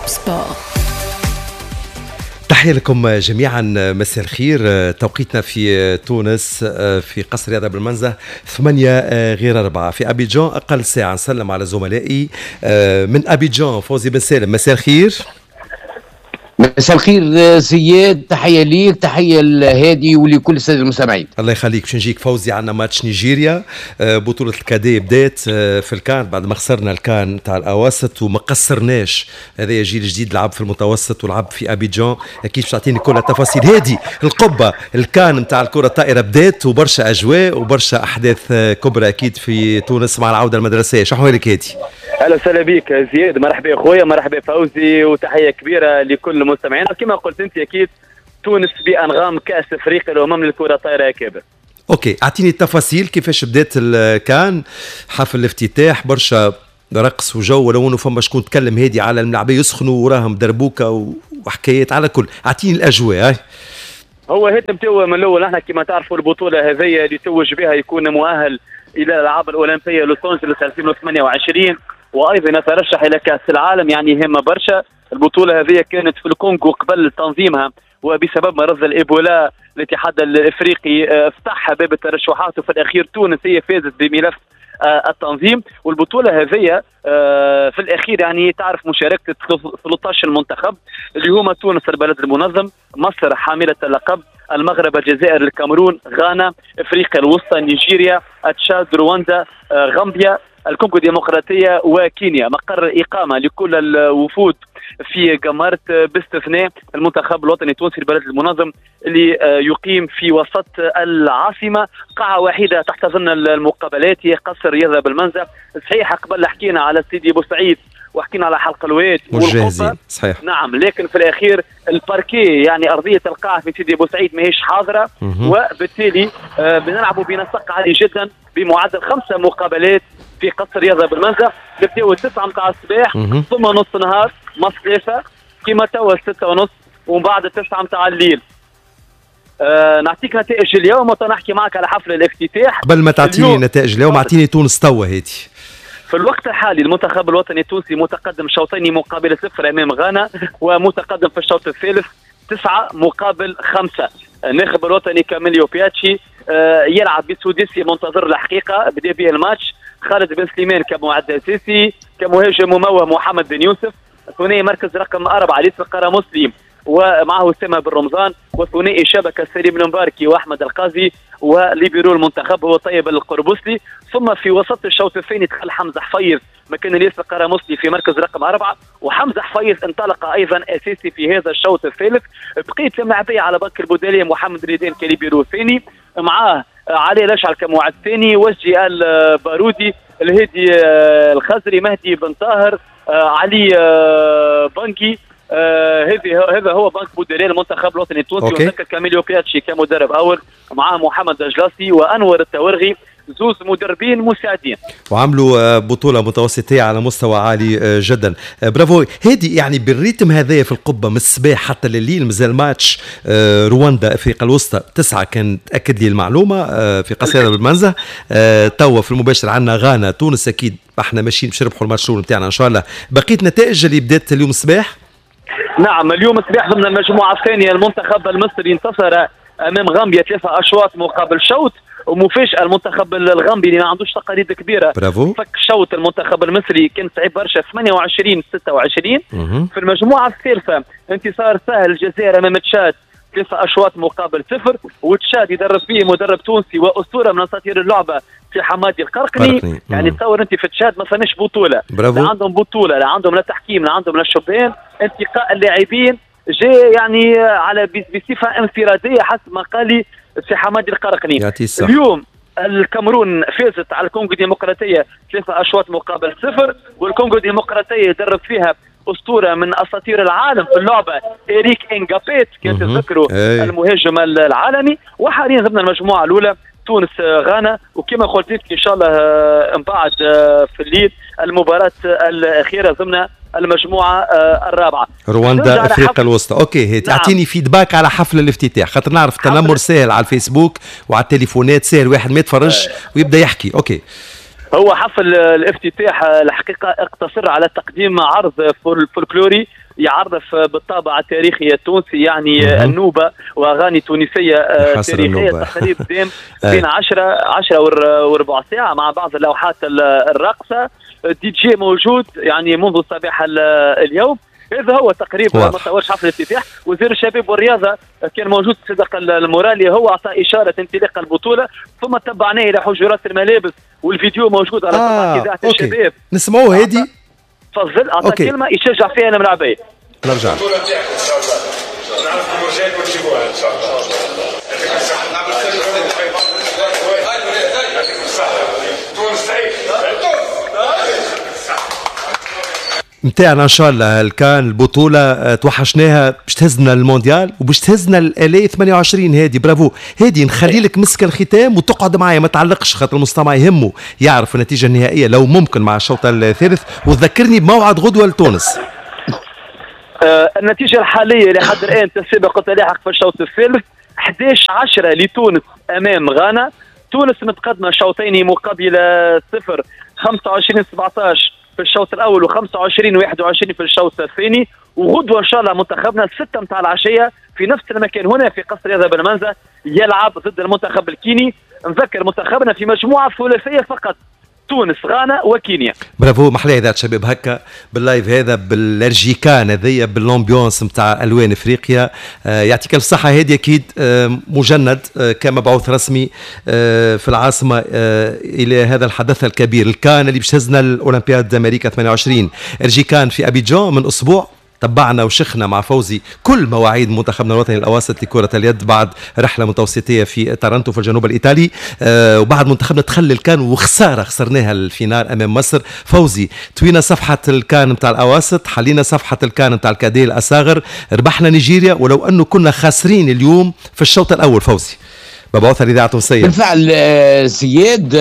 Top Sport. تحية لكم جميعا، مساء الخير. توقيتنا في تونس في قصر رياضة بالمنزه 7:45، في أبيجان أقل ساعة. نسلم على زملائي من أبيجان، فوزي بن سالم، مساء الخير. مساء الخير زياد، تحية ليك، تحية لهادي ولكل السادة المستمعين. الله يخليك. باش نجيك فوزي، عندنا ماتش نيجيريا، بطولة ال cadets بدات في الكان بعد ما خسرنا الكان تاع الأواسط وما قصرناش. هذا جيل جديد لعب في المتوسط ولعب في أبيجان، أكيد باش تعطيني كل التفاصيل. هادي القبة، الكان نتاع الكرة الطائرة بدات، وبرشا أجواء وبرشا أحداث كبرى أكيد في تونس مع العودة المدرسية. شو أحوالك هادي؟ اهلا وسهلا بك زياد، مرحبا خويا، مرحبا فوزي، وتحية كبيرة لكل المستمعين. كما قلت انت اكيد تونس بانغام كاس افريقيا الامم للكرة الطايره يا كابر. OK، اعطيني التفاصيل كيفاش بدات الكان، حفل الافتتاح، برشا رقص وجو، ولو انه فما شكون تكلم هادي على الملاعبيه يسخنوا وراهم دربوكه وحكايات. على كل اعطيني الاجواء. هو هاد نبداو من الاول. احنا كما تعرفوا البطولة هذه اللي توج بها يكون مؤهل الى الالعاب الاولمبية لوس انجلوس 2028، وايضا يترشح الى كاس العالم، يعني هامة برشا. البطولة هذه كانت في الكونغو قبل تنظيمها، وبسبب مرض الايبولا الاتحاد الافريقي فتح باب الترشحات، وفي الاخير تونس هي فازت بملف التنظيم. والبطوله هذه في الاخير يعني تعرف مشاركة 13 منتخب اللي هما تونس البلد المنظم، مصر حامله اللقب، المغرب، الجزائر، الكاميرون، غانا، افريقيا الوسطى، نيجيريا، تشاد، رواندا، غامبيا، الكونغو الديمقراطية وكينيا. مقر إقامة لكل الوفود في قمرت باستثناء المنتخب الوطني التونسي البلد المنظم اللي يقيم في وسط العاصمة. قاعة واحدة تحتضن المقابلات هي قصر رياضة بالمنزه. صحيح قبل حكينا على سيدي بوسعيد وحكينا على حلق الواد والقبة، صحيح، نعم، لكن في الاخير الباركي يعني ارضية القاعة في سيدي بوسعيد ماهيش حاضره، وبالتالي بنلعبوا بنسق عالي جدا بمعدل 5 مقابلات في قصر رياضة بالمنزه. نبداو 9 متاع الصباح، ثم نص نهار مص 3 كيما توا 6:30، ومن بعد 9 متاع الليل. نعطيك نتائج اليوم ونحكي معك على حفل الافتتاح. قبل ما تعطيني نتائج اليوم اعطيني تونس توا هادي. في الوقت الحالي المنتخب الوطني التونسي متقدم شوطين مقابل 0 امام غانا، ومتقدم في الشوط الثالث 9-5. الناخب الوطني كاميليو بياتشي يلعب بسوديسي منتظر الحقيقة، بدا به الماتش. خالد بن سليمان كمعد اساسي، كمهاجم مموه محمد بن يوسف، ثنائي مركز رقم 4 ليس القرامسلي ومعه اسامة بن رمضان، وثنائي شبكة سليم المباركي واحمد القاضي، وليبيرو المنتخب هو طيب القربوسلي. ثم في وسط الشوط الثاني دخل حمزة حفيظ مكان الياس القرامسلي في مركز رقم 4، وحمزة حفيظ انطلق ايضا اساسي في هذا الشوط الثالث. بقيت الملاعبيه على بنك البوداليه محمد ريدان كليبيرو الثاني، معاه علي الاشعل كمعد ثاني، وجهي البارودي، الهادي الخزري، مهدي بن طاهر، علي بنكي. هذا هو بنك بوداليه المنتخب الوطني التونسي. ونذكر كاميليو بياتشي كمدرب اول، معاه محمد الجلاسي وانور التورغي، زوز مدربين مساعدين، وعملوا بطولة متوسطية على مستوى عالي جدا. برافو هادي. يعني بال rythme هذايا في القبة من الصباح حتى لليل مازال ماتش رواندا افريقيا الوسطى 9، كان تأكد لي المعلومة في قصيرة بالمنزه. توا في المباشر عندنا غانا تونس، اكيد احنا ماشيين باش نربحوا الماتش الاول نتاعنا ان شاء الله. بقية نتائج اللي بدات اليوم الصباح؟ نعم، اليوم الصباح ضمن المجموعة الثانية المنتخب المصري انتصر امام غامبيا 3 أشواط مقابل شوط، ومفاجأة المنتخب الغامبي اللي ما عندوش تقاليد كبيرة، برافو، فك شوط المنتخب المصري كان صعيب برشا 28-26. في المجموعة الثالثة انتصار سهل الجزائر أمام تشاد 3 أشواط مقابل 0، وتشاد يدرب فيه مدرب تونسي وأسطورة من أساطير اللعبة في حمادي القرقني. يعني تصور أنت في تشاد ما فماش بطولة، برافو، لا عندهم بطولة، لا عندهم لا تحكيم، لا عندهم لا شبان. انتقاء اللاعبين جاء يعني على بصفة انفرادية حسب ما قال سي حمادي القرقني. اليوم الكاميرون فازت على الكونغو الديمقراطية 3 أشواط مقابل 0، والكونغو الديمقراطية درب فيها أسطورة من أساطير العالم في اللعبة إريك إنغابيت، كان تذكروا المهاجم العالمي. وحاليا ضمن المجموعة الأولى تونس غانا، وكما قلت لك إن شاء الله من بعد في الليل المباراة الأخيرة ضمن المجموعة الرابعة رواندا افريقيا الوسطى. OK، تعطيني feedback على حفل الافتتاح، خاطر نعرف التنمر سهل على الفيسبوك وعلى التليفونات، سهل واحد ما يتفرجش ويبدا يحكي. OK، هو حفل الافتتاح الحقيقة اقتصر على تقديم عرض فولكلوري يعرف بالطابع التاريخي التونسي، يعني النوبة واغاني تونسية تاريخية. تقريبا بين 10 وربع ساعة مع بعض اللوحات الراقصه. دي جي موجود يعني منذ صباح اليوم. هذا هو تقريبا ما تصورش حفل الافتتاح. وزير الشباب والرياضة كان موجود صدق المورالي، هو اعطى اشارة انطلاق البطولة، ثم تبعناه الى حجرات الملابس، والفيديو موجود على صفحة اذاعة الشباب. نسمعوه هادي، تفضل، اعطى كلمة يشجع فيها الملاعبيه. نرجع البطولة نتاعكم ان شاء الله، نعرفكم رجالكم وتجيبوها ان شاء الله. يعطيكم الصحة، يعطيكم الصحة، تونس تعيش. نتاعنا ان شاء الله الكان البطولة توحشناها باش تهزنا المونديال وباش تهزنا ال 28. هادي برافو هادي، نخلي لك مسك الختام وتقعد معايا ما تعلقش خاطر المستمع يهمه يعرف النتيجة النهائية لو ممكن مع الشوط الثالث، وتذكرني بموعد غدوه لتونس. النتيجة الحالية لحد الان تسابق وتلاحق في الشوط الثالث 11-10 لتونس امام غانا. تونس متقدمة شوطين مقابل صفر، 25-17 في الشوط الاول و25-21 في الشوط الثاني. وغدوه ان شاء الله منتخبنا 6 متاع العشية في نفس المكان هنا في قصر رياضة بالمنزه يلعب ضد المنتخب الكيني. نذكر منتخبنا في مجموعة ثلاثية فقط، تونس، غانا وكينيا. برافو، محلاه اذاعة شباب هكا بال live هذا، بالارجيكان هذيا، بال ambiance نتاع الوان افريقيا. يعطيك الف صحة هادي، اكيد مجند كمبعوث رسمي في العاصمة الى هذا الحدث الكبير، الكان اللي باش تهزنا الاولمبياد امريكا 28. ارجيكان في ابيجان من اسبوع، تبعنا وشخنا مع فوزي كل مواعيد منتخبنا الوطني الاواسط لكرة اليد بعد رحله متوسطيه في تارانتو في الجنوب الايطالي، وبعد منتخبنا دخل الكان وخسارة خسرناها ال finale امام مصر. فوزي طوينا صفحة الكان نتاع الاواسط، حلينا صفحة الكان نتاع ال cadets الاصاغر، ربحنا نيجيريا ولو انه كنا خاسرين اليوم في الشوط الاول. فوزي مبعوث الإذاعة التونسية. بالفعل زياد،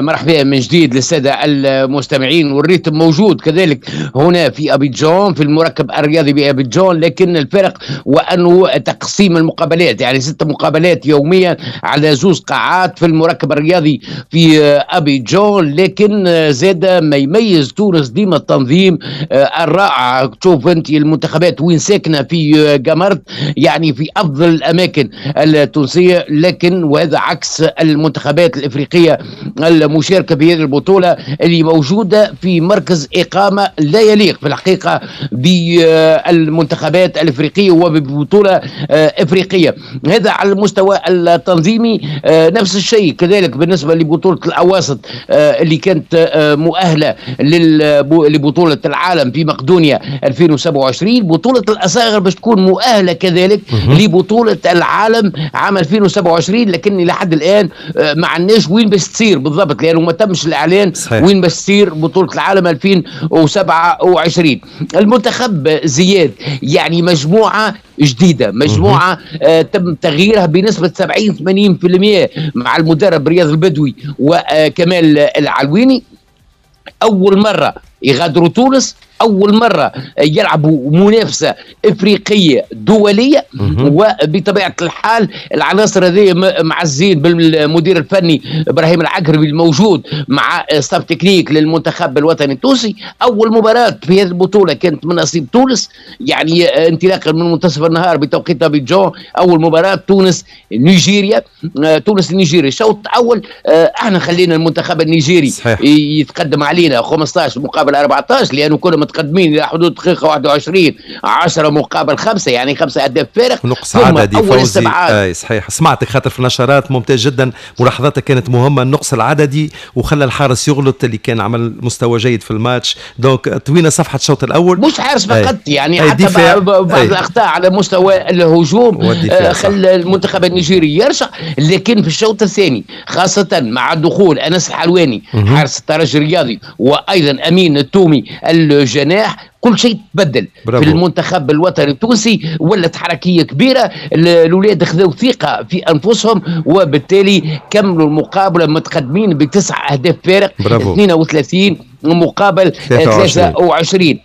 مرحبا من جديد للسادة المستمعين، وال rythme موجود كذلك هنا في أبيجان في المركب الرياضي بأبيجان، لكن الفرق وأنه تقسيم المقابلات، يعني 6 مقابلات يوميا على 2 قاعات في المركب الرياضي في أبيجان. لكن زاد ما يميز تونس ديما التنظيم الرائع. تشوف أنت المنتخبات وين ساكنة في قمرت، يعني في أفضل الأماكن التونسية، لكن وهذا عكس المنتخبات الإفريقية المشاركة في هذه البطولة اللي موجودة في مركز إقامة لا يليق في الحقيقة بالمنتخبات الإفريقية وببطولة إفريقية. هذا على المستوى التنظيمي. نفس الشيء كذلك بالنسبة لبطولة الأواسط اللي كانت مؤهلة لبطولة العالم في مقدونيا 2027. بطولة الأصاغر باش تكون مؤهلة كذلك لبطولة العالم عام 2027، لكن لحد الان ما عندناش وين باش تصير بالضبط، لانه ما تمش الاعلان. صحيح. وين باش تصير بطوله العالم 2027. المنتخب زياد يعني مجموعة جديدة، مجموعة تم تغييرها بنسبة 70-80% مع المدرب رياض البدوي وكمال العلويني. اول مرة يغادروا تونس، أول مرة يلعبوا منافسة إفريقية دولية، وبطبيعة الحال العناصر هذه معزين بالمدير الفني إبراهيم العقربي الموجود مع staff technique للمنتخب الوطني التونسي. أول مباراة في هذه البطولة كانت من نصيب تونس، يعني انطلاقا من منتصف النهار بتوقيت أبيجان. أول مباراة تونس نيجيريا، تونس نيجيريا. الشوط الأول احنا خلينا المنتخب النيجيري. صحيح. يتقدم علينا 15 مقابل 14، لأنه كنا متقدمين الى حدود دقيقة 21، 10 مقابل 5، يعني 5 اهداف فارق. نقص عددي فوزي. اي صحيح، سمعتك خاطر في النشرات، ممتاز جدا، ملاحظاتك كانت مهمة. النقص العددي وخلى الحارس يغلط اللي كان عمل مستوى جيد في الماتش، donc طوينا صفحة الشوط الاول. مش حارس فقط، يعني حتى بعض الاخطاء على مستوى الهجوم خلى المنتخب النيجيري يرجع. لكن في الشوط الثاني خاصة مع دخول انس الحلواني حارس الترجي الرياضي وايضا امين التومي الجناح، كل شيء تبدل. برافو. في المنتخب الوطني التونسي ولت حركية كبيرة، الاولاد خذوا ثقة في انفسهم، وبالتالي كملوا المقابلة متقدمين ب9 اهداف فارق. برافو. 32 مقابل 23.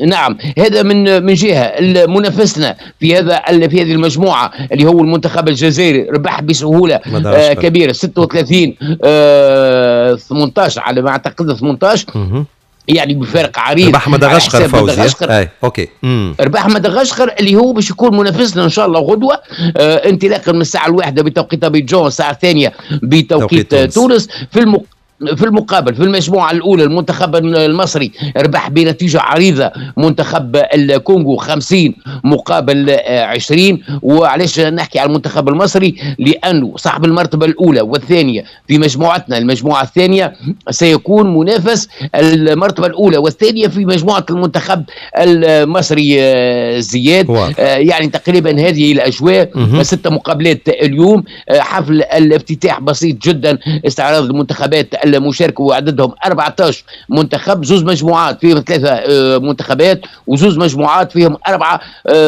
نعم، هذا من جهة. منافسنا في هذه المجموعة اللي هو المنتخب الجزائري ربح بسهولة كبيرة 36 18 على ما اعتقد 18. يعني بفارق عريض. ربح مدغشقر فوزي. اي OK. ربح مدغشقر اللي هو باش يكون منافسنا ان شاء الله غدوه، انطلاقا من الساعة 1 بتوقيت ابيجان، الساعة 2 بتوقيت تونس. في المقابل في المجموعة الأولى المنتخب المصري ربح بنتيجة عريضة منتخب الكونغو 50 مقابل 20. وعلاش نحكي على المنتخب المصري؟ لأنه صاحب المرتبة الأولى والثانية في مجموعتنا، المجموعة الثانية سيكون منافس المرتبة الأولى والثانية في مجموعة المنتخب المصري زياد. يعني تقريبا هذه الأجواء. 6 مقابلات اليوم، حفل الافتتاح بسيط جدا، استعراض المنتخبات المشاركة وعددهم 14 منتخب، زوز مجموعات فيهم 3 منتخبات وزوز مجموعات فيهم 4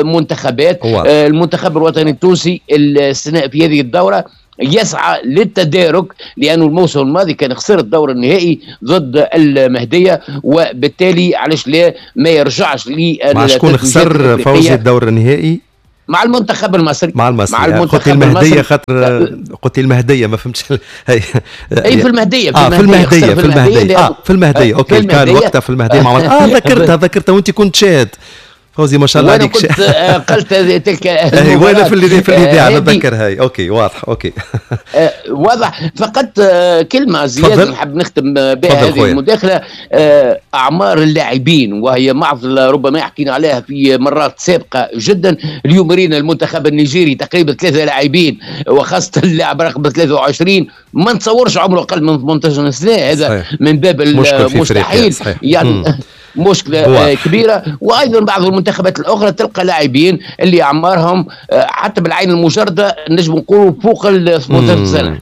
منتخبات. المنتخب الوطني التونسي السنة في هذه الدورة يسعى للتدارك، لأنه الموسم الماضي كان خسر الدور النهائي ضد المهدية، وبالتالي علاش لا ما يرجعش مع شكون خسر فوزي الدور النهائي؟ مع المنتخب المصري. مع المصري. مع المنتخب المهدية، خاطر قلت المهدية ما فهمتش. اي في المهدية، في المهدية، في المهدية، في المهدية. OK كان وقتها في المهدية مع ذكرتها وانت كنت شاهد فوزي ما شاء الله عليك. وانا كنت قلت تلك وانا في الاذاعة نتذكر هاي. OK واضح. OK واضح. فقط كلمة زياد نحب نختم بها هذه المداخلة. اعمار اللاعبين وهي معضلة ربما حكينا عليها في مرات سابقه جدا. اليوم رينا المنتخب النيجيري تقريبا 3 لاعبين، وخاصة اللاعب رقم 23 ما نتصورش عمره اقل من 18 سنة. هذا صحيح. من باب المستحيل يعني. مشكلة كبيرة. وأيضا بعض المنتخبات الأخرى تلقى لاعبين اللي أعمارهم حتى بالعين المجردة نجم نقولوا فوق ال 18 سنة.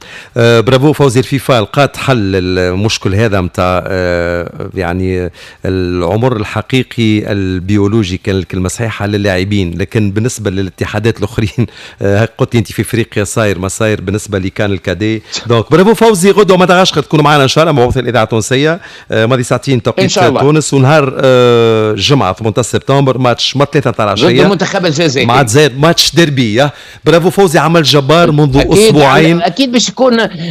برافو فوزي. الفيفا لقات حل المشكل هذا نتاع يعني العمر الحقيقي البيولوجي كان الكلمة صحيحة للاعبين، لكن بالنسبة للاتحادات الآخرين قلت أنت في افريقيا صاير ما صاير بالنسبة ل CAN ال cadets. donc bravo فوزي. غدوة مدغشقر تكونوا معنا إن شاء الله مبعوث الإذاعة التونسية ماضي ساعتين توقيت تونس، ونهار الجمعة 18 سبتمبر ماتش 3 تاع العشية ضد المنتخب الجزائري مع الجزائر، match derby. bravo فوزي، عمل جبار منذ أسبوعين. أكيد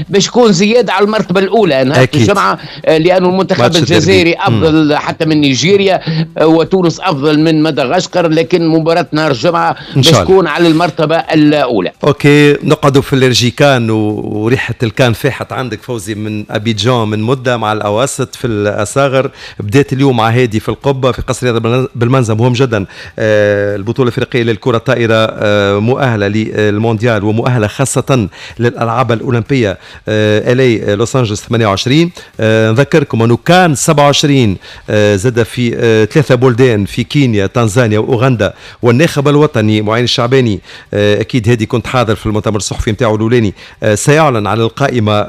باش يكون زيادة على المرتبة الأولى نهار الجمعة، لأنه المنتخب الجزائري أفضل حتى من نيجيريا، وتونس أفضل من مدغشقر، لكن مباراة نهار الجمعة باش تكون على المرتبة الأولى. OK نقعدوا في الرجيكان وريحة الكان فاحت عندك فوزي من أبيجان من مدة مع الأواسط في الأصاغر. بدأت اليوم مع هادي في القبة في قصر رياض بالمنزل، مهم جدا. البطولة الافريقية للكرة الطائرة مؤهلة للمونديال ومؤهلة خاصة للألعاب الأولمبية LA لوس أنجلوس 28. نذكركم أنه كان 27 زاد في 3 بلدان، في كينيا، تنزانيا وأوغندا. والناخب الوطني معين الشعباني أكيد هادي كنت حاضر في المؤتمر الصحفي نتاعو الأولاني، سيعلن عن القائمة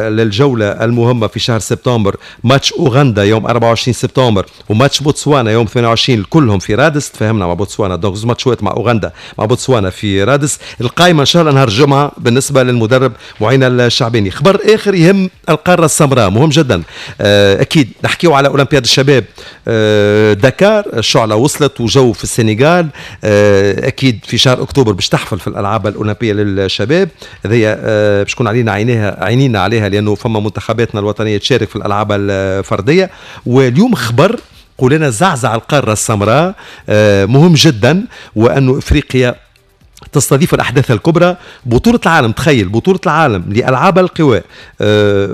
للجولة المهمة في شهر سبتمبر. ماتش أوغندا يوم 24 سبتمبر وماتش بوتسوانا يوم 28، كلهم في رادس. تفاهمنا مع بوتسوانا، donc زوج ماتشات مع اوغندا مع بوتسوانا في رادس. القائمة ان شاء الله نهار الجمعة بالنسبة للمدرب معين الشعباني. خبر اخر يهم القارة السمراء مهم جدا، اكيد نحكيو على اولمبياد الشباب دكار. الشعلة وصلت وجو في السنغال، اكيد في شهر اكتوبر باش تحفل في الالعاب الاولمبية للشباب. هذه باش تكون علينا عينينا عليها، لانه فما منتخباتنا الوطنية تشارك في الالعاب الفردية. واليوم خبر قولنا زعزع القارة السمراء مهم جدا، وأنه إفريقيا تستضيف الأحداث الكبرى، بطولة العالم. تخيل بطولة العالم لألعاب القوى،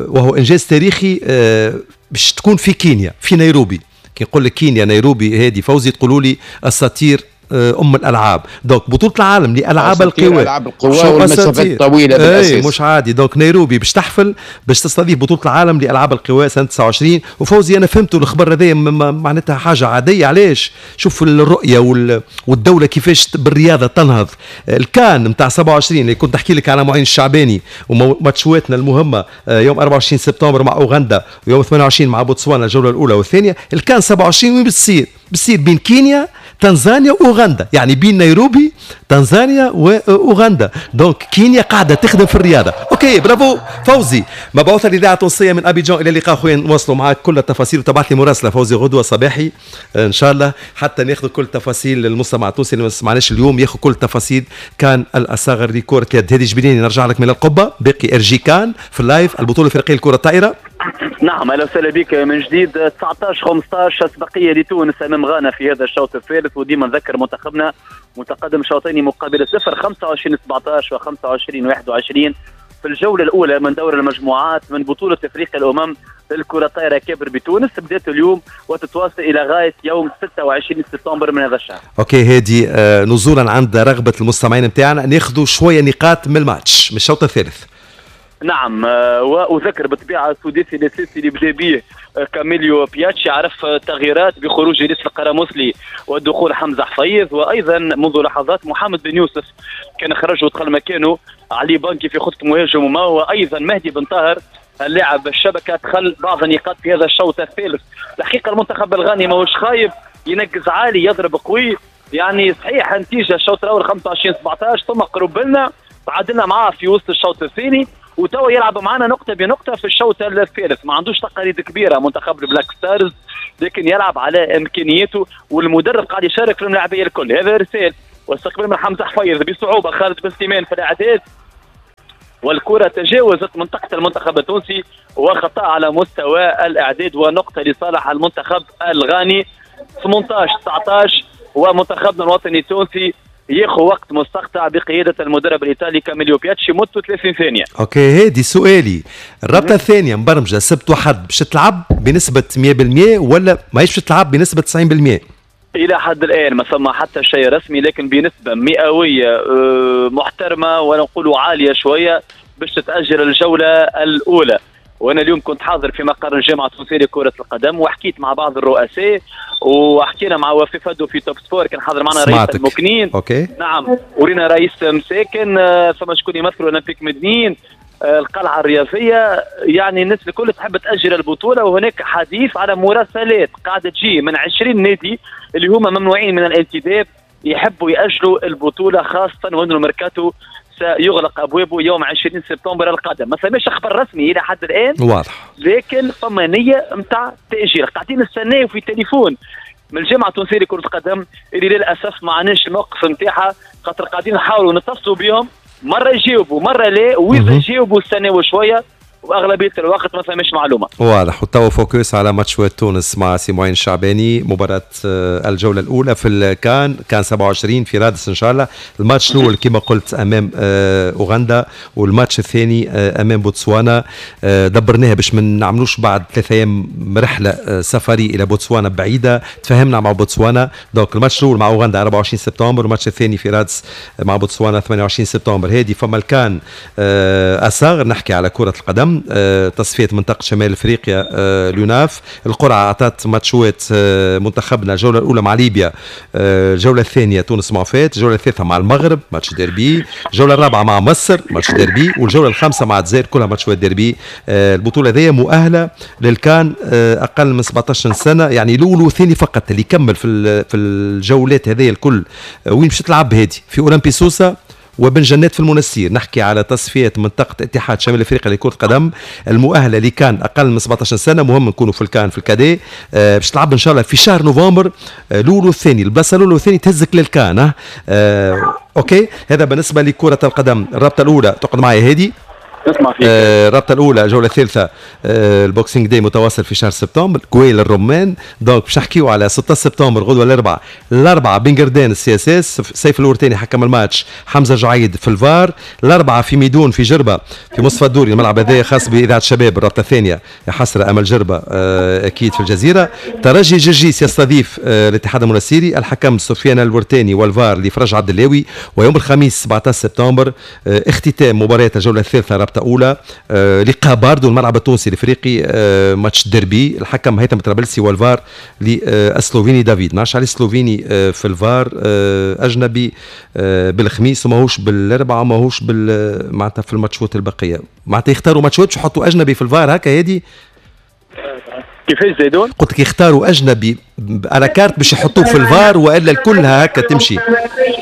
وهو إنجاز تاريخي، باش تكون في كينيا في نيروبي. كي نقول لك كينيا نيروبي هادي فوزي تقولوا لي أساطير ام الالعاب. donc بطوله العالم لالعاب القوى، العاب القوى والمسافات الطويلة بالاساس، مش عادي. donc نيروبي باش تحفل، باش تستضيف بطوله العالم لالعاب القوى سنة 29. وفوزي انا فهمت الخبر هذا معناتها حاجة عادية. علاش؟ شوف الرؤية والدولة كيفاش بالرياضة تنهض. الكان نتاع 27 اللي كنت نحكي لك على معين الشعباني وماتشواتنا المهمة يوم 24 سبتمبر مع اوغندا ويوم 28 مع بوتسوانا الجولة الاولى والثانية. الكان 27 وين بتصير؟ بتصير بين كينيا، تنزانيا واوغندا، يعني بين نيروبي، تنزانيا واوغندا. donc كينيا قاعدة تخدم في الرياضة. OK bravo فوزي، مبعوث الاذاعة التونسية من ابيجان. الى اللقاء خويا، نواصلوا معاك كل التفاصيل، وتبعث لي مراسله فوزي غدوه صباحي ان شاء الله حتى ناخذ كل التفاصيل. المستمع التونسي اللي ما سمعناش اليوم ياخذ كل التفاصيل. كان الاصاغر لكرة اليد. هذه جبريني نرجع لك من القبة. باقي ارجي كان في ال live البطولة الافريقية لكرة الطائرة. نعم، اهلا وسهلا بك من جديد. 19-15 اسبقيه لتونس امام غانا في هذا الشوط الثالث، وديما نذكر منتخبنا متقدم شوطين مقابل صفر، 25-17 و 25-21 في الجولة الاولى من دور المجموعات من بطوله افريقيا الامم للكرة الطائرة كبر بتونس، بدات اليوم وتتواصل الى غاية يوم 26 سبتمبر من هذا الشهر. OK هادي، نزولا عند رغبة المستمعين نتاعنا ناخذوا شوية نقاط من الماتش من الشوط الثالث. نعم، واذكر بالطبيعة السداسي الاساسي اللي بدا به كاميليو بياتشي عرف تغييرات بخروج إلياس القرامسلي ودخول حمزة حفيظ، وايضا منذ لحظات محمد بن يوسف كان خرج ودخل مكانه علي بانكي في خطه مهاجم وما، وايضا مهدي بن طاهر اللاعب الشبكة دخل بعض النقاط في هذا الشوط الثالث. الحقيقة المنتخب الغاني ماهوش خايب، ينقز عالي، يضرب قوي، يعني صحيح نتيجة الشوط الاول 25-17 ثم قرب لنا تعادلنا معاه في وسط الشوط الثاني، وتوا يلعب معنا نقطة بنقطة في الشوط الثالث. ما عندوش تقاليد كبيرة منتخب ال Black Stars، لكن يلعب على إمكانياته، والمدرب قاعد يشارك في الملاعبية الكل. هذا رسال واستقبال من حمزة حفيظ بصعوبة، خالد بن سليمان في الإعداد، والكرة تجاوزت منطقة المنتخب التونسي وخطأ على مستوى الإعداد ونقطة لصالح المنتخب الغاني. 18-19 ومنتخبنا الوطني التونسي ياخذ وقت مستقطع بقيادة المدرب الايطالي كاميليو بياتشي مدته 30 ثانية. OK هادي سؤالي، الرابطة الثانية مبرمجه سبت وحد باش تلعب بنسبة 100% ولا ماهيش باش تلعب بنسبة 90%؟ الى حد الان ما ثم حتى شيء رسمي، لكن بنسبة مئوية محترمه ونقولوا عالية شوية باش تتاجل الجولة الاولى. وانا اليوم كنت حاضر في مقر الجامعة التونسية لكرة القدم وحكيت مع بعض الرؤساء وحكينا مع وفي فدو في توب سبور، كان حاضر معنا رئيس المكنين. OK نعم، ورينا رئيس مساكن، ثم شكون يمثل اولمبيك مدنين، القلعة الرياضية. يعني الناس الكل تحب تاجل البطولة، وهناك حديث على مراسلات قاعدة تجي من 20 نادي اللي هما ممنوعين من الانتداب يحبوا ياجلوا البطولة، خاصة وان الميركاتو سيغلق ابوابه يوم 20 سبتمبر القادم. ما ثماش خبر رسمي الى حد الان واضح، لكن فما نيه نتاع تاجيل. قاعدين نستناو في تليفون من الجامعة التونسية لكرة القدم اللي للاسف ما عناش الموقف نتاعها، خاطر قاعدين نحاولوا نتصلوا بهم، مرة يجاوبوا مرة لا، واذا يجاوبوا استناو شوية، واغلبيه الوقت ما ثماش معلومة. واضح. وتوا focus على ماتش تونس مع سي معين الشعباني، مباراة الجولة الاولى في الكان، كان 27 في رادس ان شاء الله. الماتش الاول كما قلت امام اوغندا، والماتش الثاني امام بوتسوانا. دبرناها باش ما نعملوش بعد 3 ايام رحله سفري الى بوتسوانا بعيدة، تفاهمنا مع بوتسوانا. donc الماتش الاول مع اوغندا 24 سبتمبر، والماتش الثاني في رادس مع بوتسوانا 28 سبتمبر. هذه فما الكان اصغر. نحكي على كره القدم، تصفية منطقة شمال افريقيا اليوناف، القرعة اعطت ماتشوات منتخبنا، الجولة الاولى مع ليبيا، الجولة الثانية تونس معفات، الجولة الثالثة مع المغرب ماتش ديربي، الجولة الرابعة مع مصر ماتش ديربي، والجوله الخامسة مع الجزائر، كلها ماتشوات ديربي. البطولة هذه مؤهلة للكان اقل من 17 سنة، يعني الاول والثاني فقط اللي يكمل في الجولات هذه الكل. وين باش تلعب هذه؟ في اولمبي سوسة وبن جنات في المنستير. نحكي على تصفية منطقة اتحاد شمال افريقيا لكرة القدم المؤهلة لكان اقل من 17 سنة. مهم نكونوا في الكان في ال cadets. باش تلعب ان شاء الله في شهر نوفمبر، الاول والثاني، البلاصة الاولى والثاني تهزك للكان. OK، هذا بالنسبة لكرة القدم. الرابطة الاولى تقعد معي هادي؟ نسمع فيك. الرابطة الاولى الجولة الثالثة، ال Boxing Day متواصل في شهر سبتمبر، كويل الرمان. donc باش نحكيو على 6 سبتمبر غدوه الاربعاء بن قردان ال CSS، سيف الورتاني حكم الماتش، حمزة جعيد في الفار. الاربعاء في ميدون في جربه في مصطفى الدوري، الملعب هذا خاص باذاعة الشباب. الرابطة الثانية يا حسرة امل جربه اكيد في الجزيرة. ترجي جرجيس يستضيف الاتحاد المنستيري، الحكم سفيان الورتاني والفار لفرج عبد اللاوي. ويوم الخميس 17 سبتمبر اختتام مباراة الجولة الثالثة رابطه اولى، لقاء باردو الملعب التونسي الافريقي، ماتش ديربي، الحكم هيثم طرابلسي والفار للسلوفيني دافيد. ما عليه السلوفيني في الفار، اجنبي بالخميس وماهوش بالاربعاء وماهوش معناتها في الماتشات البقية، معناتها يختاروا ماتشات باش يحطوا اجنبي في الفار هكا هادي. كيفاش زيدون؟ قلت لك يختاروا اجنبي à la carte باش يحطوه في الفار والا الكلها هكا تمشي؟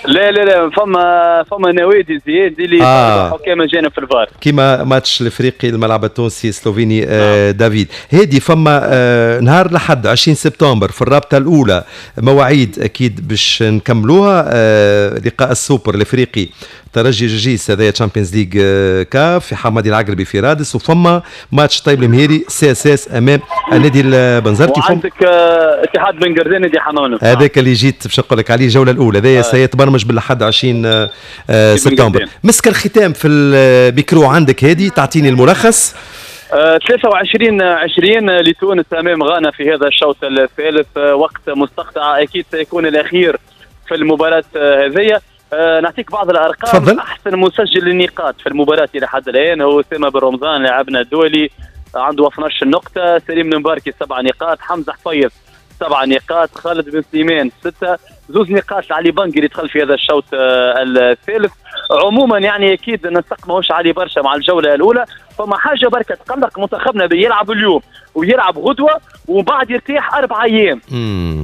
لا لا لا، فما نوادي زياد اللي حكام اجانب في الفار، كيما ماتش الافريقي الملعب التونسي السلوفيني. دافيد هادي فما نهار لحد 20 سبتمبر في الرابطة الاولى مواعيد اكيد باش نكملوها، لقاء السوبر الافريقي ترجي جرجيس هذايا Champions League كاف في حمادي العقربي في رادس، وفما ماتش طيب المهيري CSS امام النادي البنزرتي، وعندك اتحاد بن قردان نادي حمام. هذاك اللي جيت باش نقول لك عليه الجولة الاولى هذايا سيتبرمج بالاحد 20 سبتمبر. مسك الختام في الميكرو عندك هادي، تعطيني الملخص. 23-20 لتونس امام غانا في هذا الشوط الثالث، وقت مستقطع اكيد سيكون الاخير في المباراة هذه. نعطيك بعض الارقام. تفضل. احسن مسجل للنقاط في المباراة الى حد الان هو اسامة بن رمضان لاعبنا الدولي، عنده 12 نقطة، سليم المباركي 7 نقاط، حمزة حفيظ 7 نقاط، خالد بن سليمان 6، 2 نقاط لعلي بنقي اللي دخل في هذا الشوط الثالث. عموما يعني اكيد النسق ماهوش عالي برشا مع الجولة الاولى، فما حاجة بركة تقلق منتخبنا بيلعب اليوم ويلعب غدوه وبعد يرتاح 4 ايام.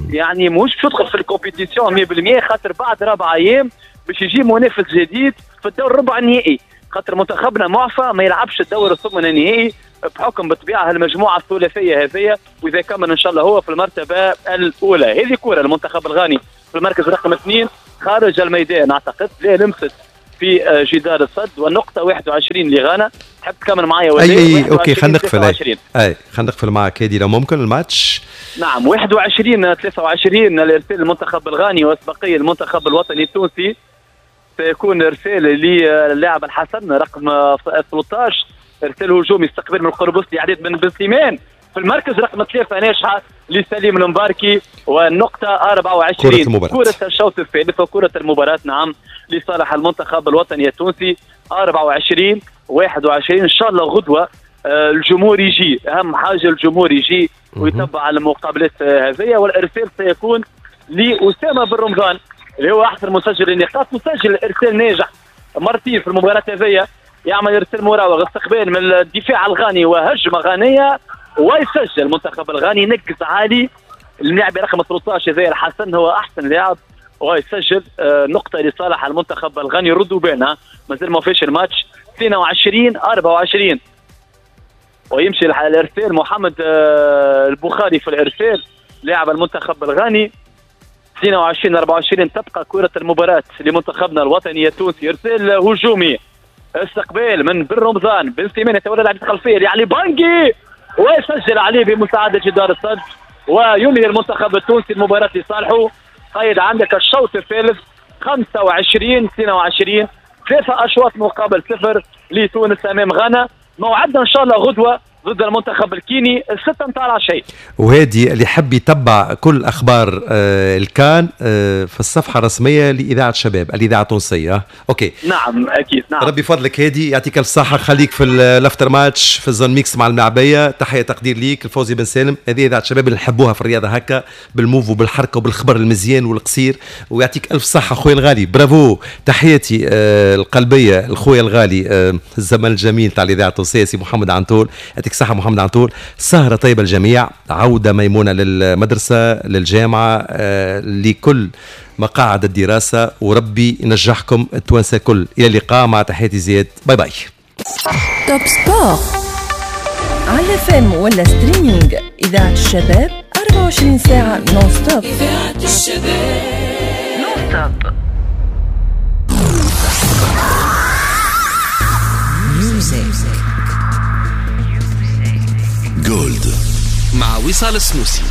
يعني ماهوش باش يدخل في ال compétition 100%، خاطر بعد 4 ايام باش يجي منافس جديد في الدور الربع النهائي، خاطر منتخبنا معفى ما يلعبش الدور الثمن النهائي بحكم بالطبيعة المجموعة الثلاثية هذه، واذا كمل ان شاء الله هو في المرتبة الاولى. هذه كره المنتخب الغاني في المركز رقم 2 خارج الميدان اعتقد، لا لمست في جدار الصد، والنقطة 21 لغانا. تحب تكمل معايا ولا؟ اي OK خلينا نقفل. اي خلينا نقفل معك هذه لو ممكن الماتش. نعم 21-23 الارسال المنتخب الغاني واسبقيه المنتخب الوطني التونسي. سيكون ارسال للاعب الحسن رقم 13، ارسال هجومي استقبال من القربوسي عديد بن سليمان في المركز رقم 3 ناجحة لسليم المباركي، والنقطة 24 كرة الشوط الثالث وكرة المباراة نعم لصالح المنتخب الوطني التونسي 24-21. إن شاء الله غدوة الجمهور يجي، أهم حاجة الجمهور يجي ويتبع المقابلات هذه. والإرسال سيكون لأسامة بن رمضان اللي هو أحسن مسجل النقاط، مسجل إرسال ناجح مرتين في المباراة هذه، يعمل إرسال مراوغ استقبال من الدفاع الغاني وهجمة غانية ويسجل المنتخب الغاني. نقص عالي اللاعب رقم 13 زي الحسن هو احسن لاعب ويسجل نقطة لصالح المنتخب الغاني. ردوا بالنا مازال ما فيش الماتش 22-24 ويمشي الارسال محمد البخاري في الارسال لاعب المنتخب الغاني. 22-24 تبقى كره المباراة لمنتخبنا الوطني التونسي. ارسال هجومي استقبال من بن رمضان، بن سليمان يتولى لعبه الخلفية لعلي بانجي ويسجل عليه بمساعدة جدار الصد وينهي المنتخب التونسي المباراة لصالحه. قيد عندك الشوط الثالث 25-22، 3 أشواط مقابل 0 لتونس أمام غانا. موعدنا إن شاء الله غدوة ضد المنتخب الكيني 6 متاع العشية. وهادي اللي حب يتبع كل اخبار الكان في الصفحة الرسمية لاذاعة شباب الاذاعة التونسية. OK نعم اكيد نعم. ربي فضلك هادي، يعطيك الف صحة، خليك في ال after match في ال zone mixte مع الملعبيه. تحية تقدير ليك الفوزي بن سالم، هذه اذاعة شباب اللي نحبوها في الرياضة هكا بال move وبالحركه وبالخبر المزيان والقصير، ويعطيك الف صحة خويا الغالي، برافو. تحياتي القلبية لخويا الغالي الزمن الجميل تاع الاذاعة التونسية سي محمد عنتول، يعطيك صحة محمد عنتول. سهرة طيبة الجميع، عودة ميمونة للمدرسة للجامعة لكل مقاعد الدراسة، وربي ينجحكم التوانسة كل. إلى اللقاء مع تحياتي زياد، bye bye. Top Sport على FM ولا streaming، إذاعة الشباب 24 ساعة non-stop. إذاعة الشباب non-stop. Gold مع وصال السنوسي.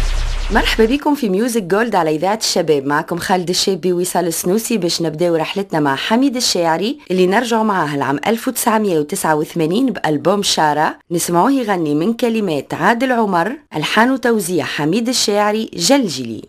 مرحبا بكم في Music Gold على إذاعة الشباب، معكم خالد الشابي ووصال السنوسي باش نبداو رحلتنا مع حميد الشاعري اللي نرجع معاه العام 1989 بألبوم شارة، نسمعوه يغني من كلمات عادل عمر، ألحان وتوزيع حميد الشاعري جلجلي.